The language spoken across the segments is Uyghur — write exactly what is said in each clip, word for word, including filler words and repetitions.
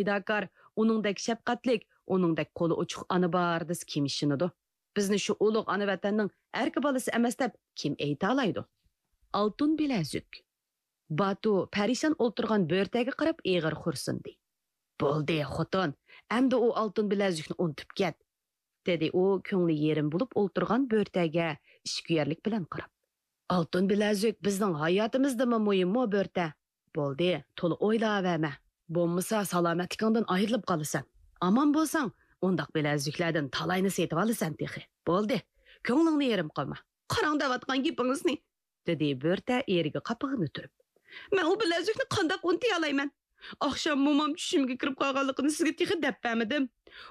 پىداكار، ئۇنىڭدەك شەپقەتلىك، ئۇنىڭدەك قولى ئوچۇق ئانا بار دېسە، كىم ئىشىنىدۇ؟ بىزنى شۇ ئۇلۇغ ئانا ۋەتەننىڭ ئەركە بالىسى ئەمەس دەپ كىم ئېيتالايدۇ؟ ئالتۇن بىلەزۈك. باتۇ پەرىشان ئولتۇرغان بۆرتەگە قاراپ ئېغىر خورسۇندى. بولدى، خوتۇن، ئەمدى ئۇ ئالتۇن بىلەزۈكنى ئۇنتۇپ كەت، دېدى ئۇ كۆڭلى يېرىم بولۇپ ئولتۇرغان بۆرتەگە ئىچكۈيەرلىك بىلەن قاراپ. ئالتۇن بىلەزۈك بىزنىڭ ھاياتىمىزدىنمۇ مۇھىممۇ، بۆرتە؟ بولدى، تولا ئويلاۋەرمە. بولمىسا سالامەتلىكىڭدىن ئايرىلىپ قالىسەن. ئامان بولساڭ، ئۇنداق بىلەزۈكلەردىن تالاينى سېتىۋالىسەن تېخى. بولدى، كۆڭلۈڭنى يېرىم قىلما. قاراڭ دەۋاتقان گېپىڭىزنى، دېدى بۆرتە ئېرىگە قاپىقىنى تۈرۈپ. مەن ئۇ بىلەزۈكنى قانداق ئۇنتۇيالايمەن؟ ئاخشام مومام چۈشۈمگە كىرىپ قالغانلىقىنى سىزگە تېخى دەپ بەرمىدىم.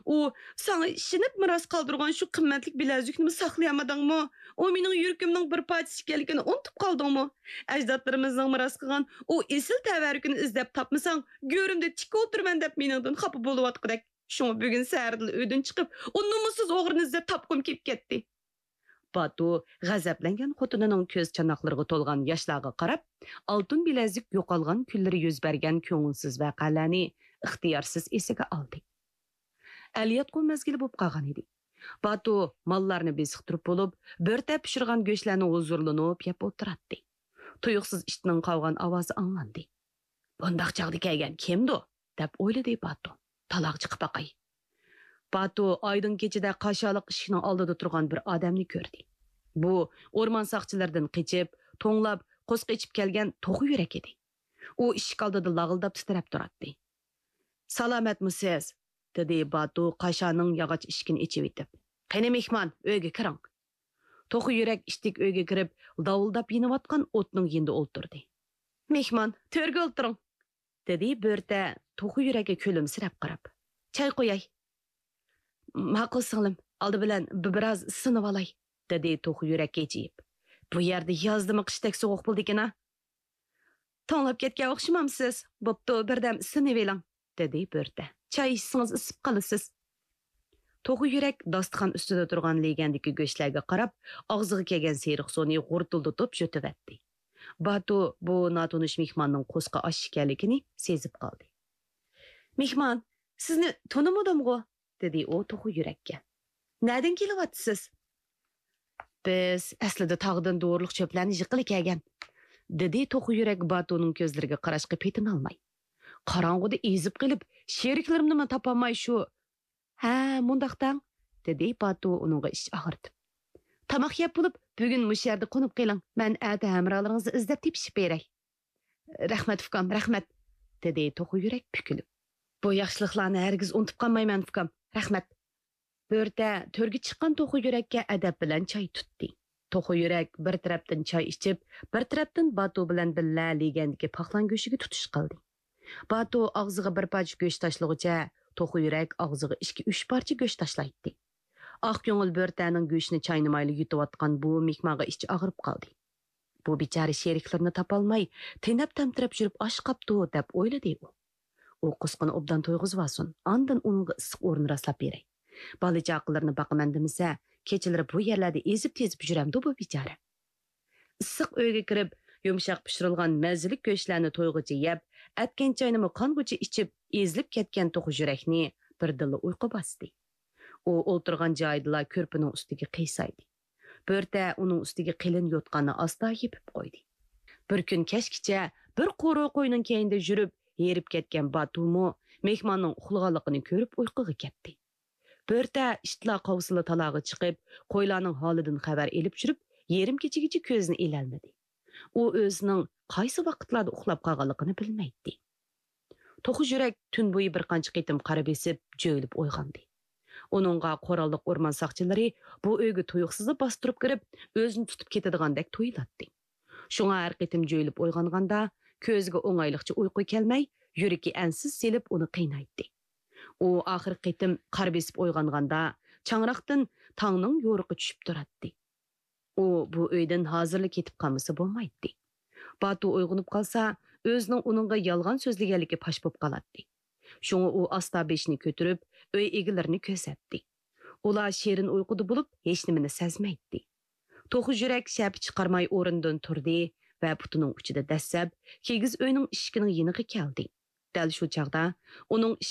ئۇ ساڭا ئىشىنىپ مىراس قالدۇرغان شۇ قىممەتلىك بىلەزۈكنىمۇ ساقلىيالمىدىڭمۇ؟ ئۇ مېنىڭ يۈرىكىمنىڭ بىر پارچىسى ئىكەنلىكىنى ئۇنتۇپ قالدىڭمۇ؟ ئەجدادلىرىمىزنىڭ مىراس قىلغان ئۇ ئېسىل تەۋەررۈكىنى ئىزدەپ تاپمىساڭ، گۆرۈمدە تىك ئولتۇرىمەن دەپ مېنىڭدىن خاپا بولۇۋاتقۇدەك. شۇڭا بۈگۈن سەھەردىلا ئۆيدىن چىقىپ، ئۇ نومۇسسىز ئوغرىنى ئىزدەپ تاپقۇم كېلىپ كەتتى. باتۇ غەزەپلەنگەن خوتۇنىنىڭ كۆز چاناقلىرىغا تولغان ياشلارغا قاراپ، ئالتۇن بىلەزۈك يوقالغان كۈنلىرى يۈز بەرگەن كۆڭۈلسىز ۋەقەلەرنى ئىختىيارسىز ئېسىگە ئالدى. ئەلياتقۇ مەزگىلى بولۇپ قالغان ئىدى. باتۇ ماللارنى بېسىقتۇرۇپ بولۇپ، بۆرتە پىشۇرغان گۆشلەرنى ھۇزۇرلىنىپ يەپ ئولتۇراتتى. تۇيۇقسىز ئىتنىڭ قاۋىغان ئاۋازى ئاڭلاندى. بۇنداق چاغدا كەلگەن كىمدۇ؟ دەپ ئويلىدى باتۇ. تالاغا چىقىپ باقاي. باتۇ ئايدىڭ كېچىدە قاشالىق ئىشىكنىڭ ئالدىدا تۇرغان بىر ئادەمنى كۆردى. بۇ ئورمان ساقچىلىرىدىن قېچىپ، توڭلاپ، قورسىقى ئېچىپ كەلگەن توخۇ يۈرەك ئىدى. ئۇ ئىشىك ئالدىدا لاغىلداپ تىترەپ تۇراتتى. سالامەتمۇسىز؟ دېدى باتۇ قاشانىڭ ياغاچ ئىشىكىنى ئېچىۋېتىپ. قېنى مېھمان، ئۆيگە كىرىڭ. توخۇ يۈرەك ئىتتىك ئۆيگە كىرىپ، داۋۇلداپ يېنىۋاتقان ئوتنىڭ يېنىدا ئولتۇردى. مېھمان، تۆرگە ئولتۇرۇڭ، دېدى بۆرتە توخۇ يۈرەككە كۈلۈمسىرەپ قاراپ. چاي قۇياي. ماقۇل سىڭلىم، ئالدى بىلەن بىر، بىراز سىنىۋالاي، دېدى توخۇ يۈرەك ھىجىيىپ. بۇ يەردە يازدىمۇ قىشتەك سوغۇق بولىدىكەن ھە. توڭلاپ كەتكەن ئوخشىمامسىز؟ بوپتۇ، بىردەم سىنىۋېلىڭ، دېدى بۆرتە. چاي ئىچسىڭىز ئىسسىپ قالىسىز. توخۇ يۈرەك داستىخان ئۈستىدە تۇرغان لېگەندىكى گۆشلەرگە قاراپ، ئاغزىغا كەلگەن سېرىق سۇنى غۇرتۇلدىتىپ يۇتۇۋەتتى. باتۇ بۇ ناتونۇش مېھماننىڭ قورسىقى ئاچ ئىكەنلىكىنى سېزىپ قالدى. مېھمان، سىزنى تونۇمىدىمغۇ؟ دېدى ئۇ توخۇ يۈرەككە. نەدىن كېلىۋاتىسىز؟ بىز ئەسلىدە تاغدىن دورىلىق چۆپلەرنى يىغقىلى كەلگەن، دېدى توخۇ يۈرەك باتۇنىڭ كۆزلىرىگە قاراشقا پېتىنالماي. قاراڭغۇدا ئېزىپ قېلىپ، شېرىكلىرىمنىمۇ تاپالماي شۇ. ھە، مۇنداق دەڭ، دېدى باتۇ ئۇنىڭغا ئىچ ئاغرىتىپ. تاماق يەپ بولۇپ، بۈگۈن مۇشۇ يەردە قونۇپ قېلىڭ، مەن ئەتە ھەمراھلىرىڭىزنى ئىزدەپ تېپىشىپ بېرەي. رەھمەت ئۇكام، رەھمەت، دېدى توخۇ يۈرەك پۈكۈلۈپ. بۇ ياخشىلىقلارنى ھەرگىز ئۇنتۇپ قالمايمەن ئۇكام، رەھمەت. بۆرتە تۆرگە چىققان توخۇ يۈرەككە ئەدەپ بىلەن چاي تۇتتى. توخۇ يۈرەك بىر تەرەپتىن چاي ئىچىپ، بىر تەرەپتىن باتۇ بىلەن بىللە لېگەندىكى پاقلان گۆشىگە تۇتۇش قىلدى. باتۇ ئاغزىغا بىر پارچە گۆش تاشلىغۇچە، توخۇ يۈرەك ئاغزىغا ئىككى، ئۈچ پارچە گۆش تاشلايتتى. ئاق كۆڭۈل بۆرتەنىڭ گۆشىنى چاينىمايلا يۇتۇۋاتقان بۇ مېھمانغا ئىچى ئاغرىپ قالدى. بۇ بىچارە شېرىكلىرىنى تاپالماي، تېنەپ-تەمتىرەپ يۈرۈپ ئاچ قاپتۇ، دەپ ئويلىدى ئۇ. ئۇ قۇسقىنى ئوبدان تويغۇزۇۋالسۇن، ئاندىن ئۇنىڭغا ئىسسىق ئورۇن راسلاپ بېرەي. بالا-چاقىلىرىنى باقىمەن دېمىسە، كېچىلىرى بۇ يەرلەردە ئېزىپ-تېزىپ يۈرەمدۇ بۇ بىچارە؟ ئىسسىق ئۆيگە كىرىپ، يۇمشاق پىشۇرۇلغان مەززىلىك گۆشلەرنى تويغۇچە يەپ، ئەتكەن چاينىمۇ قانغۇچە ئىچىپ، ئېزىلىپ كەتكەن توخۇ يۈرەكنى بىردىنلا ئۇيقۇ باستى. ئۇ ئولتۇرغان جايىدىلا كۆرپىنىڭ ئۈستىگە قىيسايدى. بۆرتە ئۇنىڭ ئۈستىگە قېلىن يوتقاننى ئاستا يېپىپ قويدى. بىر كۈن كەچكىچە بىر قورۇ قوينىڭ كەينىدە يۈرۈپ، ھېرىپ كەتكەن باتۇمۇ مېھماننىڭ ئۇخلىغانلىقىنى كۆرۈپ ئۇيقۇغا كەتتى. بۆرتە ئىتلار قاۋسىلا تالاغا چىقىپ، قويلارنىڭ ھالىدىن خەۋەر ئېلىپ يۈرۈپ، يېرىم كېچىگىچە كۆزىنى ئىلەلمىدى. ئۇ ئۆزىنىڭ قايسى ۋاقىتلاردا ئۇخلاپ قالغانلىقىنى بىلمەيتتى. توخۇ يۈرەك تۈن بويى بىر قانچە قېتىم قارا بېسىپ، جۆيلۈپ ئويغاندى. ئۇنىڭغا قوراللىق ئورمان ساقچىلىرى بۇ ئۆيگە تۇيۇقسىزلا باستۇرۇپ كىرىپ، ئۆزىنى تۇتۇپ كېتىدىغاندەك تۇيۇلاتتى. شۇڭا ھەر قېتىم جۆيلۈپ ئويغانغاندا، كۆزىگە ئوڭايلىقچە ئۇيقۇ كەلمەي، يۈرىكى ئەنسىز سېلىپ ئۇنى قىينايتتى. ئۇ ئاخىرقى قېتىم قارا بېسىپ ئويغانغاندا، چاڭراقتىن تاڭنىڭ يورۇقى چۈشۈپ تۇراتتى. ئۇ بۇ ئۆيدىن ھازىرلا كېتىپ قالمىسا بولمايتتى. باتۇ ئويغىنىپ قالسا، ئۆزىنىڭ ئۇنىڭغا يالغان سۆزلىگەنلىكى پاش بولۇپ قالاتتى. شۇڭا ئۇ ئاستا بېشىنى كۆتۈرۈپ، ئۆي ئىگىلىرىنى كۆزەتتى. ئۇلار شېرىن ئۇيقۇدا بولۇپ، ھېچنېمىنى سەزمەيتتى. توخۇ يۈرەك شەپە چىقارماي ئورنىدىن تۇردى ۋە پۇتىنىڭ ئۇچىدا دەسسەپ، كىگىز ئۆينىڭ ئىشىكىنىڭ يېنىغا كەلدى. دەل شۇ چاغدا ئۇنىڭ ئىشىكىنىڭ